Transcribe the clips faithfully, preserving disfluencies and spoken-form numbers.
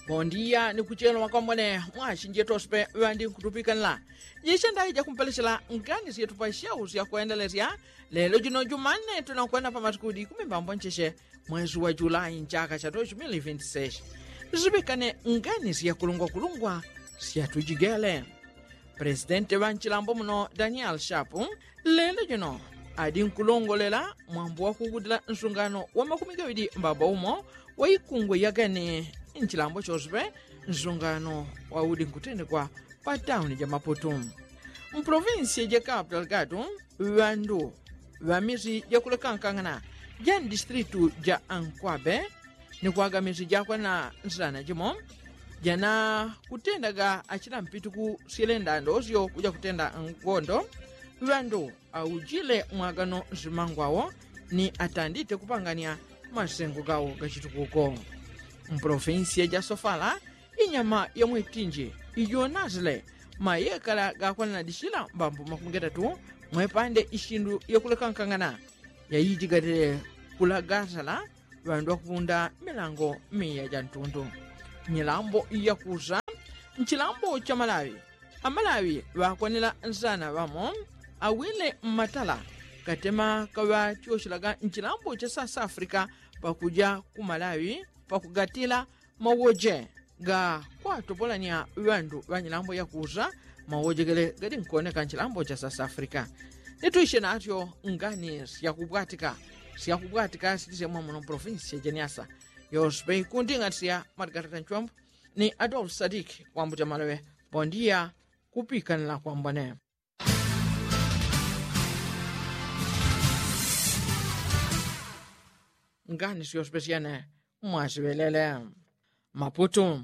Pondiya ni kuchelo wakwambone mwashi njetospe ŵandi nkutupikanila. Jishandayi jakumpelechela ngani syetupa shau syakwendelesya lelo jino jumane tunakwenda pamasikudi kumimbambo ncheche mwezi wa julayi nchaka cha doshi mili vinti seshi. Zipikane ngani syakulungwakulungwa syatujigele. Presidenti ŵa nchilambo muno daniel shapu lelo jino adi nkulongolela mwambo wakugudila nsungano wa makumi gaŵidi mbamba umo wa ikungwe yageni nchilambo choswe nsungano waudi nkutendekwa pa tauni ja maputu. Mprovinsi ja kapu delgadu ŵandu ŵa misi jakulekankang'ana ja mdistritu ja ankwabe ni kwaga misi jakwana nsana jimo jana kutendaga achila mpituku syelenda ndosyo kuja kutenda ngondo ŵandu aujile mwagano nsimangwawo ni atandite kupangania masengo gawo gachitukuko. Mprovinsiya ja sofala inyama ya mwitinji ijonasile mayekala gakwananadishila mbambo makumi gatatu mwepande ishindu yakulekankang'ana yayijigatile kulagasala ŵandu ŵakupunda milango miya ja ntundu. Nyilambo yakusa nchilambo cha malawi amalawi ŵakwanila nsana ŵamo awile mmatala katema kaŵatyoshelaga nchilambo cha south africa pakuja ku malawi pakugatila mawoje ga kwatopolania ŵandu ŵa nyilambo yakusa mawojegele gadi nkuoneka nchilambo cha south africa. Nitwishe natyo ngani syakupwatika syakupwatika sitisemwa muno mprovinsi ya jeniasa yospe ikunding'atisya matigatata nchwambu ni adolf sadiki wambuta maloŵe. Pondiya kupikanila kwambone ngani syospesyene mwasiŵelele. Maputu.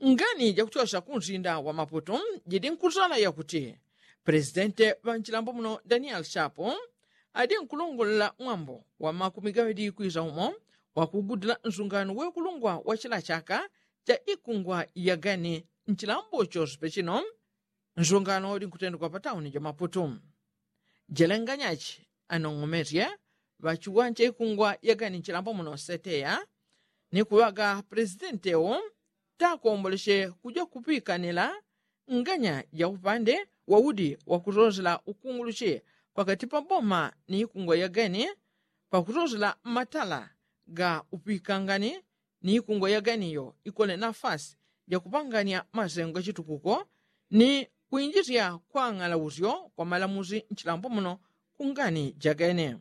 Ngani jakuchosha kunsinda wa maputu jidi nkusala yakuti presidente ŵa nchilambo muno daniel shapu adi nkulongolela mwambo wa makumi gaŵidi kwisa umo wakugudila nsungano wekulungwa wa chila chaka cha ikungwa yagani nchilambo chospe chino nsungano udi nkutendekwa pa tauni ja maputu. Jelenganyachi anong'omesye ŵachiwanja ikungwa yagani nchilambo muno seteya ni kuŵaga presidenti ewo takombolesye kuja kupikanila nganya ja upande waudi wakusosela ukungulushi pakati pa boma ni ikungwa yagani pakusosela matala ga upikangani ni ikungwa yagani iyo ikole nafasi ja kupangania masengo gachitukuko ni kwinjisya kwang'ala usyo kwa malamusi nchilambo muno ku ngani jagene.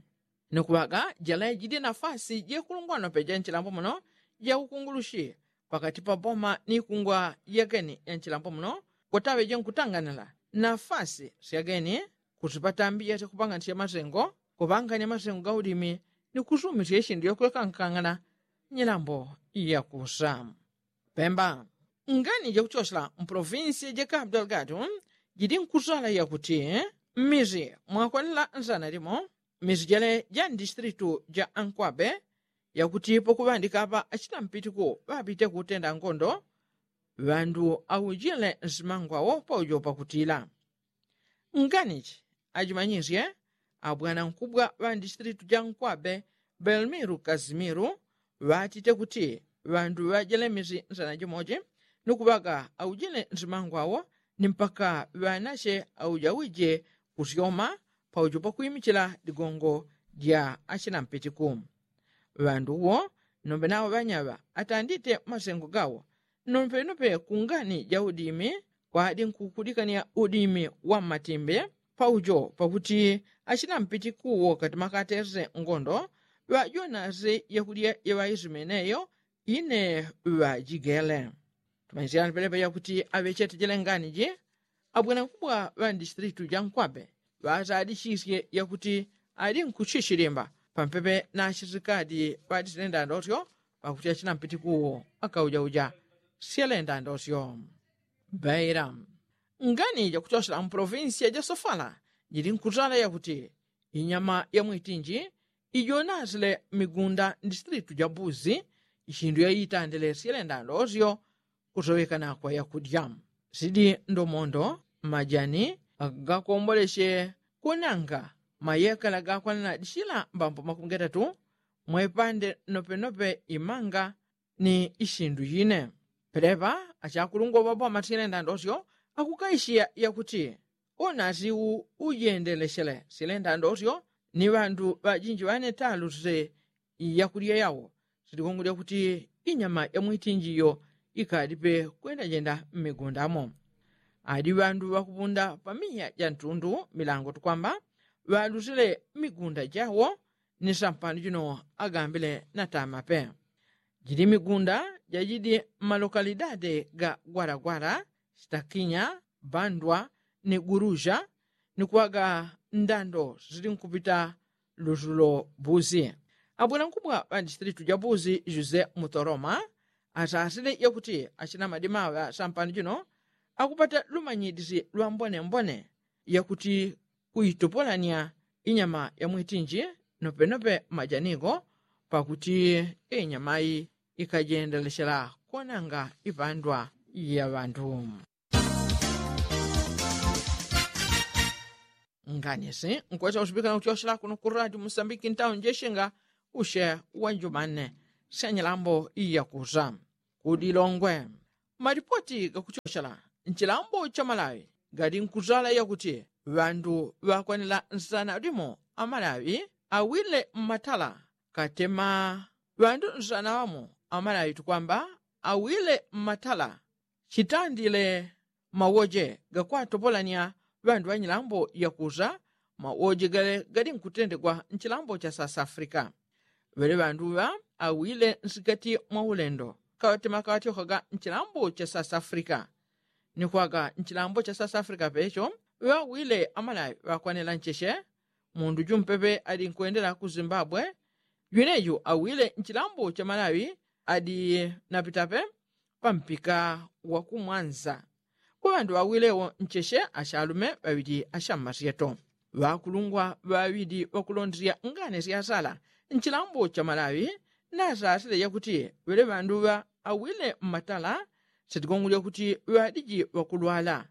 Ni kuŵaga jela jidi nafasi jekulungwano peja nchilambo muno ja ukungulushi pakati pa boma ni ikungwa yageni ya nchilambo muno kwataŵeje nkutanganila nafasi syageni kusipatambi yasya kupanganisya masengo kupangania masengo ga udimi ni kusumisya ishindu yakulekankang'ana nyilambo yakusa. Pemba. Ngani jakuchosela mpolovinsi ja kapu delgado jidi nkusala yakuti mmisi mwakwanila nsana limo mmisi jele ja ndistritu ja ankwabe yakuti pakuŵandika apa achita mpitiku ŵapite kutenda ngondo ŵandu aujile nsimangwawo paujo pakutila. Nganichi ajimanyisye abwanankubwa ŵa ndistritu ja nkwabe belmiru kasimiru ŵatite kuti ŵandu ŵajelemisi nsana jimoji ni kuŵaga aujile nsimangwawo ni mpaka ŵanache auja wije kusyoma paujo pakwimichila ligongo lya achina mpitiku. Ŵandu wo nombe nawo ŵanyaŵa atandite masengo gawo nombe nope kungani ja udimi kwadi nkukudikania udimi wa mmatimbe paujo pakuti achina mpitiku wo kati makatese ngondo ŵajonase yakulya yaŵaisimeneyo ine ŵajigele. Tumanyisya ni pelepe yakuti aŵechete jele nganiji abwanankubwa ŵa ndistritu ja nkwabe ŵasadichisye yakuti ali nkuchichilimba pampepe na achisikadi ŵadisilenda ndosyo pakuti achina mpitiku wo akaujauja syelenda ndosyo. Beira. Ngani jakuchosela mpolovinsiya ja sofala jili nkutala yakuti inyama ya mwitinji ijonasile mmigunda ndistritu ja buzi ishindu yaitandile syelenda ndosyo kusowekana kwa yakudya sidi ndomondo majani gakombolesye kunanga mayekala gakwanana dishila mbambo makumi gatatu mwepande nopenope imanga ni ishindu yine. Pelepa achakulungwa ŵapo amasile ndandosyo akukaishiya yakuti unasi ujendeleshele sile ndandosyo ni ŵandu ŵajinji ŵane talusile iyakulya yawo silikungulya kuti inyama ya mwitinji iyo ikalipe kwendajenda mmigundamo. Adi ŵandu ŵakupunda pamiya ja ntundu milango tukwamba ŵalusile mmigunda jawo ni sampano jino agambile natamape. Jili migunda jajidi mmalokalidade ga gwalagwala, sitakinya, bandwa ni guruja ni kuŵaga ndando sili nkupita lusulo buzi. Abwela nkubwa ŵa distilitu ja buzi juse muthoroma asasile yakuti achina madima ŵa sampano jino akupata lumanyidisi lwa mbonembone yakuti kuitopolanya inyama ya mwitinji nopenope majanigo pakuti inyamayi ikajendelechela kuonanga ipandwa ya ŵandu. Nganisi nkwesa usupikana kuchochela kuno ku radio musambiki ntawo njeshinga ushe wa njumanne sya nyilambo iyakusa. Kudi longwe malipoti gakuchochela nchilambo cha malawi gali nkuzala yakuti ŵandu ŵakwanila nsana limo amalawi awile mmatala katema ŵandu nsana ŵamo amalawi tukwamba awile mmatala chitandile mawoje gakwatopolanya ŵandu ŵanyilambo yakusa mawoje gale gali nkutendegwa nchilambo cha south africa. Ŵele ŵandu ŵa awile nsikati mwa ulendo kaŵatema kaŵatyokaga nchilambo cha south africa ni kwaga nchilambo cha south africa pecho ŵawile amalawi ŵakwanela ncheche mundu jumpepe ali nkwendela ku zimbabwe. Jwineju awile nchilambo cha malawi adi napitape pampika wakumwanza. Ŵandu ŵawilewo ncheche achalume ŵaŵili achammasyeto ŵakulungwa ŵaŵili ŵakulondesya ngane syasala nchilambo cha malawi nasasile yakuti ŵele ŵandu ŵa awile mmatala sitigongolya kuti ŵadiji ŵakulwala.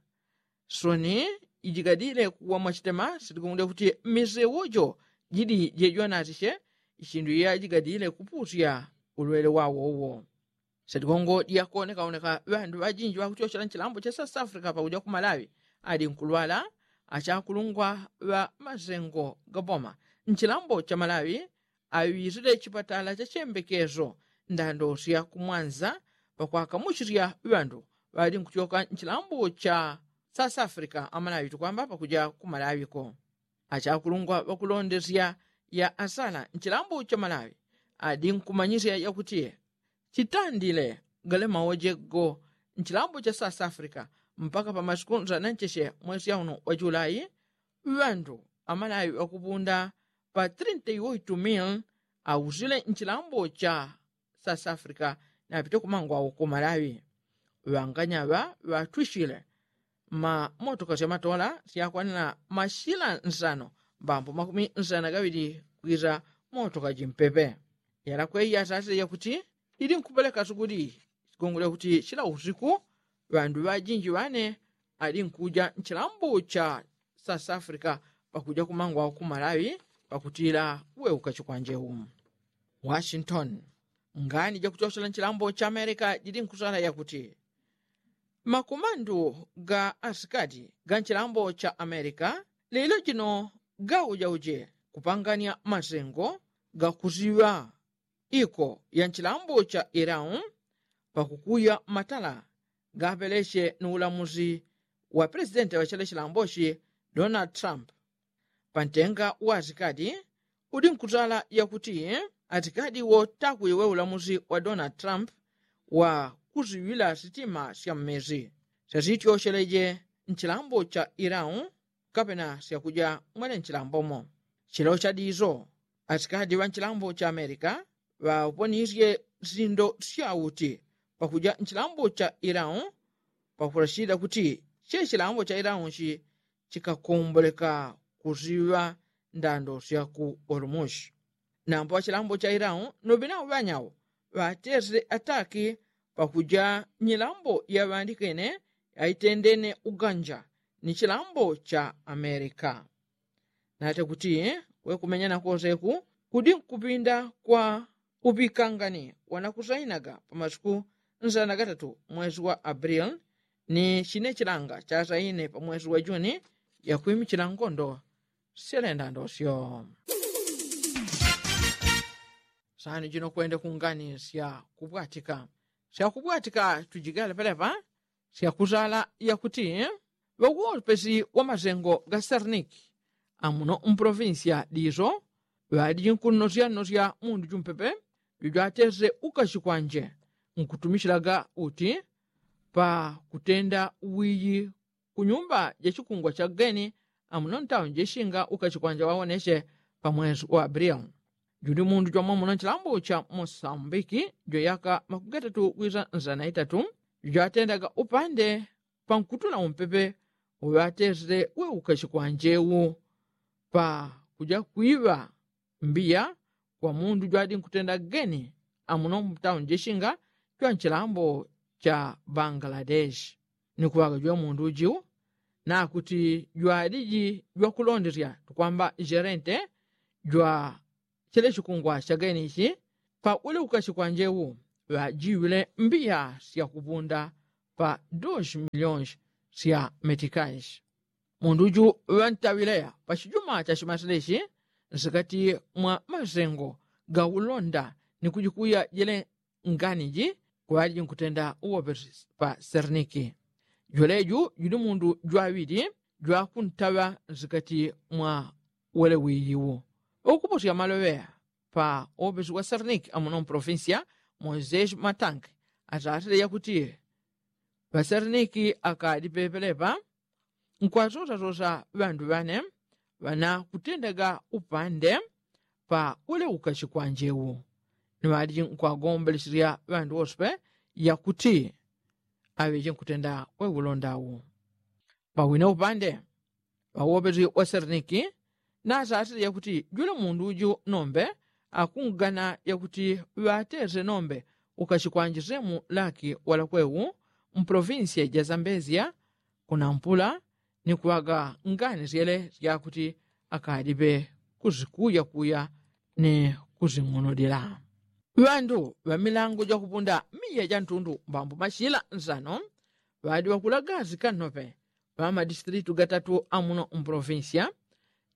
Soni ijigadile kuwa mwachitema sitigongolya kuti mmisewo jo jili jejwanatiche ichindu iyajigadile kupusya ulwele wawowo. Sitigongo dyakonekaoneka ŵandu ŵajinji ŵakuchochela nchilambo cha south africa pakuja ku malawi ali nkulwala achakulungwa ŵa masengo gaboma nchilambo cha malawi aŵisile chipatala cha chembekeso ndando sya kumwanza pakwakamuchisya ŵandu ŵali nkuchoka nchilambo cha south africa amalawi tukwamba pakuja ku malawi ko. Achakulungwa ŵakulondesya ya asala nchilambo cha malawi adi nkumanyisya yakuti chitandile gale mawoje go nchilambo cha south africa mpaka pa masiku nsanancheche mwesi yauno wa julai ŵandu amalawi ŵakupunda pa trinta y oitu mil ausile nchilambo cha south africa napite kumangwao ku malawi. Ŵanganyaŵa ŵatwishile mmamotoka syamatola syakwanila mashila nsano mbambo makumi nsano na gaŵili kwisa motoka jimpepe. Yalakwe yasasile yakuti ili nkupeleka sukuli sigongole kuti chila usiku ŵandu ŵajinji ŵane ali nkuja nchilambo cha south africa pakuja kumangwao ku malawi pakutila kuweuka chikwanjeu. Washington. Ngani jakuchochela nchilambo cha america jili nkusala yakuti makumandu ga asikati ga nchilambo cha america lelo jino gaujauje kupangania masengo gakusiŵa iko ya nchilambo cha iran pakukuya matala gapeleche ni ulamusi wa pelesidenti wa chele chilambochi donald trump. Pantenga wa asikati udi nkutala yakuti asikati wo takuiwe ulamusi wa donald trump wa kusiŵila sitima sya mmezi syasityocheleje nchilambo cha iran kapena syakuja mwele nchilambomo. Chilo chadiso asikati ŵa nchilambo cha amerika ŵaponisye sindo syauti pakuja nchilambo cha iran pakulashida kuti che chilambo cha iran chi chikakomboleka kusiŵa ndando sya ku orumushi. Nambo ŵachilambo cha iran noŵinao ŵanyao ŵatesile ataki pakuja nyilambo yaŵandikene yaitendene uganja ni chilambo cha amerika. Nate kuti we kumenya nakoseku kudi nkupinda kwa upikangani wanakusainaga pamasiku nzana gatatu mwezi wa abril ni chine chilanga chasaine pa mwezi wa juni yakwimichila ngondo syalenda ndosyo. Sani jino kwende kungani syakubwatika syakubwatika tujigale pelepa syakuzala yakuti ŵawopesi wa masengo ga serniki amuno mpolofinsiya diso ŵadiji nkunnosyannosya mundu jumpepe jujwatese ukashi kwanje nkutumishilaga uti pa kutenda wiyi kunyumba ja chikungwa cha geni amuno ntauni jesinga ukashi kwanje wawoneshe pa mwezi wa abril. Juli mundu jwamwamuno nchilambo cha mosambiki jweyaka makugatatu wisa nzana itatu jwatendaga upande pankutula umpepe uŵatesile we ukashi kwanje wu pa kuja kwiŵa mbiya kwa mundu jwadi nkutenda geni amuno mtauni jeshinga jwa nchilambo cha bangaladeshi. Ni kuŵaga jwe mundu ujiwu nakuti jwadiji jwakulondesya tukwamba jerente jwa chele chikungwa cha geni ichi pa ule ukashi kwanje wu ŵajiwile mbiya syakupunda pa dos milionshi sya metikashi. Mundu uju ŵantaŵileya pa chijuma cha chimasile ichi nsikati mwa masengo ga ulonda ni kujikuya jele nganiji kuŵaliji nkutenda uwopesi pa serniki. Jweleju juli mundu jwaŵili jwakuntaŵa nsikati mwa wele wiyiwu ukuposya maloŵeya pa uwopesi wa serniki amuno mpolofinsiya moiseshi matangi asasile yakuti ŵaserniki akadi pepelepa nkwasosasosa ŵandu ŵane ŵanakutendaga upande pa ule ukashi kwanje wu ni ŵaliji nkwagombelesya ŵandu wose pe yakuti aŵeje nkutenda we ulonda wu. Pawine upande ŵawopesi wa serniki nasasile yakuti jule mundu uju nombe akungana yakuti ŵatese nombe ukashi kwanje semu laki walakwe wu mpolofinsiya ja zambezia kunampula ni kuŵaga ngani syele syakuti akadiŵe kuzikuyakuya ni kuzing'unulila. Ŵandu ŵa milango jakupunda miya ja ntundu mbambo machila nsano ŵadi ŵakulaga sikanope ŵa madistilitu gatatu amuno mpolofinsiya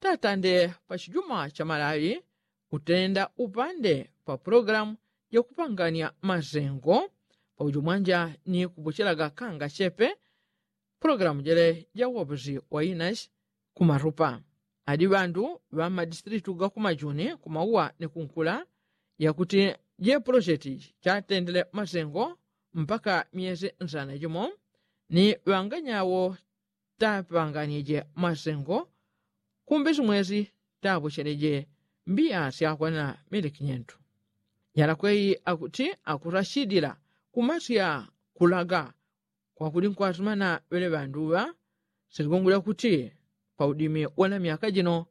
tatande pa chijuma cha malawi kutenda upande pa pulogalamu jakupangania masengo paujo mwanja ni kupochelaga kanga chepe pulogalamu jele ja uwoposi wa inashi kumarupa adi ŵandu ŵa madistilitu ga kumajuni kumauwa ni kunkula yakuti je pulosheti chatendele masengo mpaka myesi nsana jimo ni ŵanganyawo tapanganije masengo kumbe simwesi tapocheleje mbiya syakwana mili kinyentu. Nyalakweyi akuti akurashidila kumasya kulaga kwakuli nkwasimana ŵele ŵanduŵa siligongo lyakuti paudimi wala myaka jino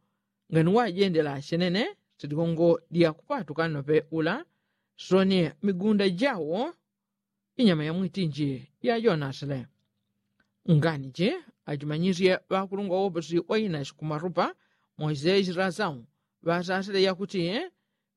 ngani wajendela chenene siligongo lyakupatuka nope ula soni migunda jawo inyama ya mwitinji ya jonasile. Nganiji ajimanyisye ŵakulungwa woposi wa inashi kumarupa moiseshi rasau ŵasasile yakuti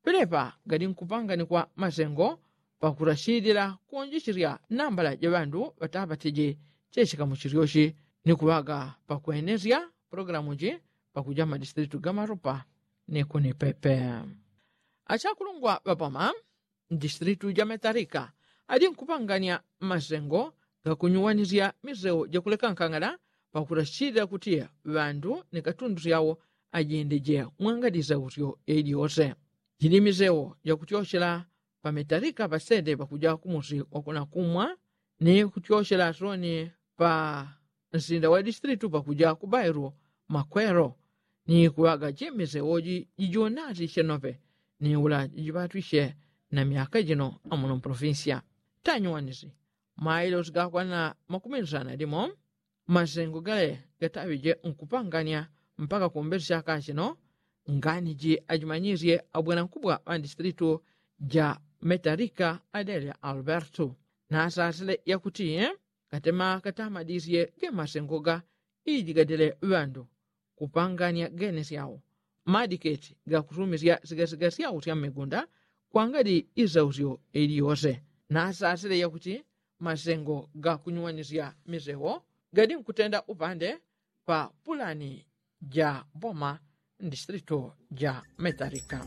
pelepa gali nkupanganikwa masengo pakurashilila kuonjecherya nambala ja ŵandu ŵatapatije chechikamu chilyochi ni kuŵaga pakwenesya pulogalamu ji pakuja mmadistilitu ga marupa ni kunipepe. Achakulungwa ŵapoma mdistilitu ja metalika adi nkupangania masengo gakunyuwanisya miseu jakulekankangala pakurashilila kuti ŵandu ni katundu syawo ajendeje mwangali isausyo yailiyose. Jili miseu jakutyochela pa metalika pasede pakuja kumusi wakunakumwa ni kutyochela soni pa nsinda wa distilitu pakuja kubailu makwelo ni kuŵaga jemese woji jijonati chenope ni ula jijipatwishe na myaka jino amuno mpolofinsiya. Tanyuwanisi mailosi gakwana makumi nsana limo masengo gale gataŵije nkupangania mpaka kumbesi chaka chino. Nganiji ajimanyisye abwanankubwa ŵa distilitu ja metalika adele albertu nasasile yakuti katema katamadisye ge masengo ga iji gadele ŵandu kupangania gene syao madiketi gakusumisya sigasiga syao sya mmigunda kwangadi isausyo iliyose nasasile yakuti masengo ga kunyuwanisya misewo gadi nkutenda upande pa pulani ja boma mdistrito ja metalika.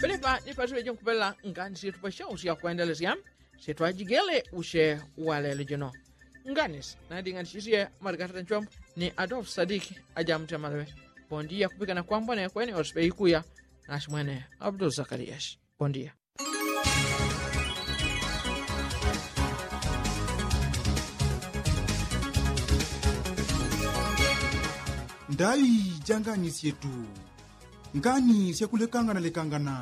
Pelepa ni pasiŵe jinkupela ngani syetu pasyausya kwendelesya syetwajigele usye walelo jino. Ngani sinading'anisisye marikatata nchombo ni adolfu sadiki aja mutemaleŵe. Bondiya kupikana kwambone kwene osipe ikuya. Nasi mwene abdul zakariyashi. Bondiya. Ndaŵi janganisye tu ngani syakulekangana lekangana.